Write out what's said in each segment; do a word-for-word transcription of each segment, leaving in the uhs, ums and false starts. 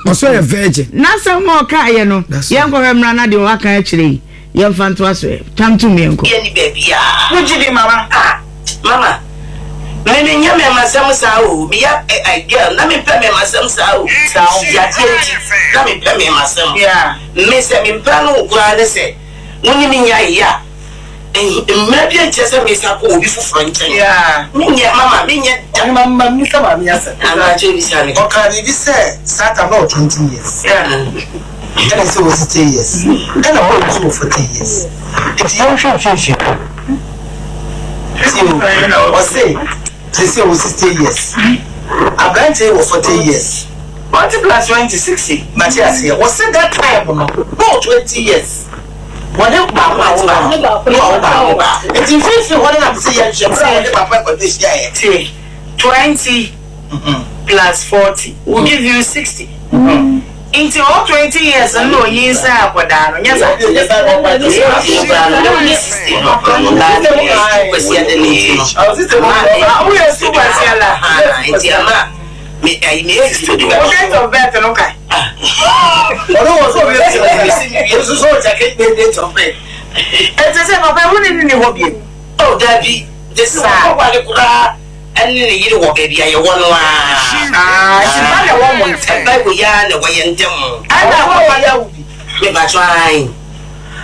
Ɔsɔ yɛ virgin. N'asɛm a ɔkaeɛ no, That's right. yɛnkɔhwɛ mmara na deɛ waka akyerɛ yi, yɛmfa ntoa so ɛ. Tam tum yɛnkɔ. Yɛ ni baabi a. Wogye di, mama? Ah, mama, me me nyɛ mɛmasɛm saa o. Meyɛ ɛ ɛ girl na mempɛ mɛmasɛm saa o. Saa o. Yadeɛ nti na mempɛ mɛmasɛm. Yeah. Me sɛ mempɛ no wo koraa ne sɛ wo ne me nya yɛ a, mmerɛ bi nkyerɛ sɛ mesa kɔ obi foforɔ nkyɛn. Yeah. Menyɛ, mama, menyɛ da. Ɔne ma ma misa maame asɛm. Anakyɛ bisa me. Ɔka biribi sɛ saa time na ɔwɔ twenty years. Yeah. Ɛna sɛ wɔ sixty years. Ɛna ɔwɔ nso wɔ forty years. Nti yɛnhwɛ mfimfini. Ti o, ɔse sisi wɔ sixty years. Aberanteɛ wɔ forty years. Forty plus twenty, sixty. Mate aseɛ. Wɔse that time no na ɔwɔ twenty years. Wɔne baako a wɔwɔ no na ɔwɔ baako. Nti mfimfini hɔ no nam sɛ yɛnhwɛ bere a wɔne papa akɔdɔ hyiaeɛ. Tie. Twenty plus forty will give you sixty. Nti all twenty years no na onyin sɛ akwadaa no nyɛ saa. Ah, woyɛ sukuu kwasia la. Nti ama me ayi me age to do. Wo date of birth no kae. Ɔno wɔ so ɔbɛ sɛ so ɔkyɛ date of birth. Ɛnti sɛ papa wo ne ne ni hɔ bio. Oh, dabi, de sɛ wɔkɔwale koraa ɛne ne yere wɔ baabi a yɛwɔ no a. Ah, nti ba na ɛwɔ mo ntɛm. Ɛba wɔ yi ara na ɛwɔ yɛn ntɛm. Ɛna Ɔwɔ yɛ awo bi. Mebatɔ ae.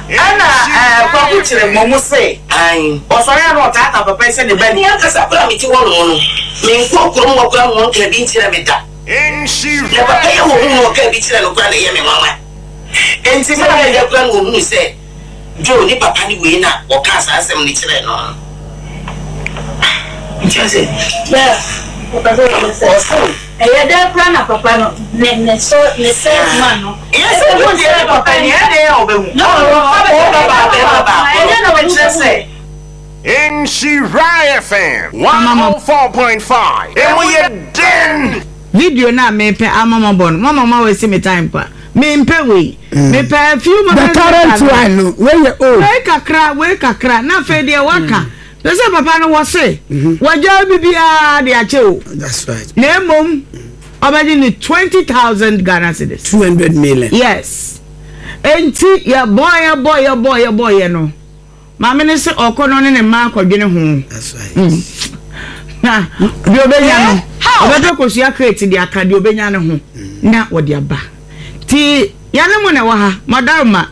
Ɛna ɛɛ Kwaku kyerɛ mmɔ mu se Ae. ɔsɔre a na ɔtaataa papa yi sɛ ne ba ni ni. Ankasa koraa mete hɔ nom no, menkɔ kurom hɔ koraa ma ɔnka bi nkyerɛ me da. Na papa yi a wɔhu no ɔka bi kyerɛ no koraa na ɛyɛ me nwanwa. Nti sɛ maame ɛyɛ koraa na wɔhunu sɛ Joe ne papa ne wei na ɔkaa saa asɛm no kyerɛ no no. Nti ɔsɛ Ɔse Ɛyɛ dɛ kora na papa no ne ne so ne third man no. Yɛ sɛ wo deɛ ne papa ni ɛyɛ dɛn a ɔbɛhu. No, Ɔba ɔba bɛrima baako. Ɛnyɛ na Ɛkyerɛ sɛ Nhyira F M one oh four point five. Emu yɛ den. Video no a mepɛ ama mabɔ no, mama ma wɔasi me time pa. Mempɛ wei. Mepɛ a few The moments current later no. one no, wey yɛ old. Wei kakra, wei kakra. Na afei deɛ waka. Pɛ sɛ papa no wɔ se wɔgya bibiara de akyɛ o. That's right. Na mmom ɔbɛgye ne twenty thousand Ghana cedis. Two hundred million. Yes. Enti yɛbɔ yɛbɔ yɛbɔ yɛbɔ yɛ no. Maame ne sɛ ɔkɔ no ne ne mma akɔdwene ho. That's right. Na deɛ ɔbɛnya no, ɔbɛpɛ kosua crate de aka deɛ ɔbɛnya no ho na wɔde aba. Nti yɛne mo na ɛwɔ ha, madaroma.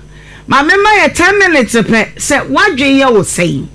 Maame ma yɛ ten minutes pɛ sɛ wadwe yɛ wo sɛn.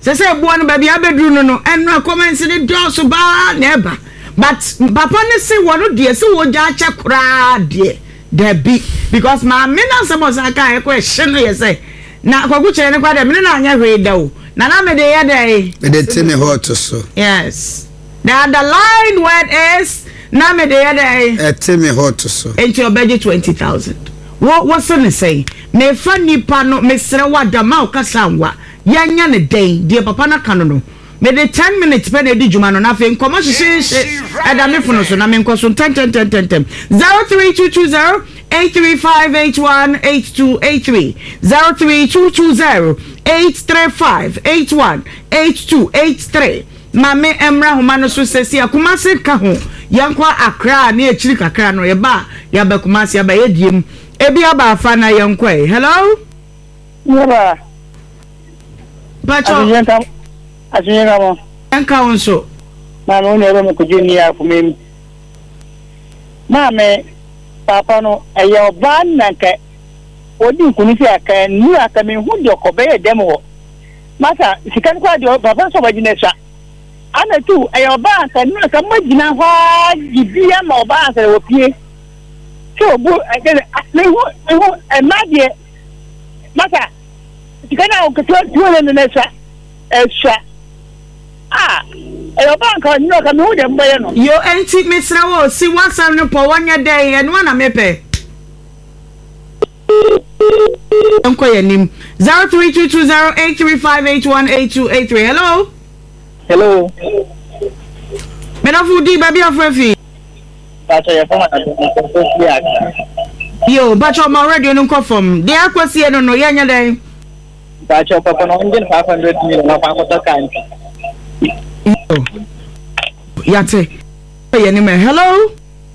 Sɛ sɛ ɛboɔ no baabi abɛduru no no ɛnora comments ne dɔɔso baa na ɛba. But papa ne se wɔno deɛ sɛ wɔgya akyɛ koraa deɛ dabi, because maame no asɛm a ɔsan kaa ɛkɔ ɛhye no yɛ sɛ na Kwaku kyerɛ ne kwa dɛ mene na anyɛ hwee da o, na na mede yɛ dɛ. Mede te me hɔ to so. Yes, the underlined word is na mede yɛ dɛ. Ɛte me hɔ to so. Nti ɔbɛgye twenty thousand. Wo wo se ne sɛn? Mefa nipa no, mesrɛ wo, adama wo kasa nwa yɛnyɛ ne dɛn? Deɛ papa no ka no no mede ten minutes pɛ na edi dwuma no, na afei nkɔmɔ hyehyehye ɛda me fono so na menkɔ so ntɛntɛntɛntɛntɛm. Zero three two two zero eight three five eight one eight two eight three, zero three two two zero eight three five eight one eight two eight three. Maame mmra homa no so sɛsi Akumase ka ho, yɛnkɔ Akra ne akyiri kakra no, yɛba a yɛaba Kumase aba yɛdie mu ebi aba afa na yɛnkɔ ɛ. Hello. Yaba. Patro. Asomdwe nka mo. Yɛnka wo nso. Maame, wo nua bɛ mo kɔgye ni akoma mu. Maame, papa no, ɛyɛ ɔbaa na nka ɔdi nkunu sɛ aka nnuru aka mehu deɛ ɔkɔ bɛyɛ dɛm hɔ. Masa, sika no koraa deɛ papa sɛ ɔbɛgye no asua. Ana tu, ɛyɛ ɔbaa anka nnuru aka moagyina hɔ a gye bi ama ɔbaa ansa na wɔpie. Sɛ ɔbu, ɛkyɛ sɛ, mehu, mehu, mmaa deɛ, masa, sika no a ɔketewa tuo no no asua. Ɛsua. Ah, ɛyɛ ɔbaa nka nnuru aka mehu deɛ mbɛyɛ no. Yo, enti mesrɛ wo, si w'asɛm no pɔ, wɔnyɛ dɛn? Ɛno ana mepɛ. Nkɔ yɛ nim. Zero three two two zero eight three five eight one eight two eight three. Hello. Hello. Medafo, di baabi afrɛ fi. Pacho, yɛ fɔm anadwo fi Accra. Yo, Pacho, ma radio no nkɔ fam. Deɛ akɔsie no no yɛnyɛ dɛn? Pacho, papa no ɔngye no five hundred million na ɔfa akɔtɔ kaa ntwi. Yo, yate. Yɛ nim ɛ. Hello.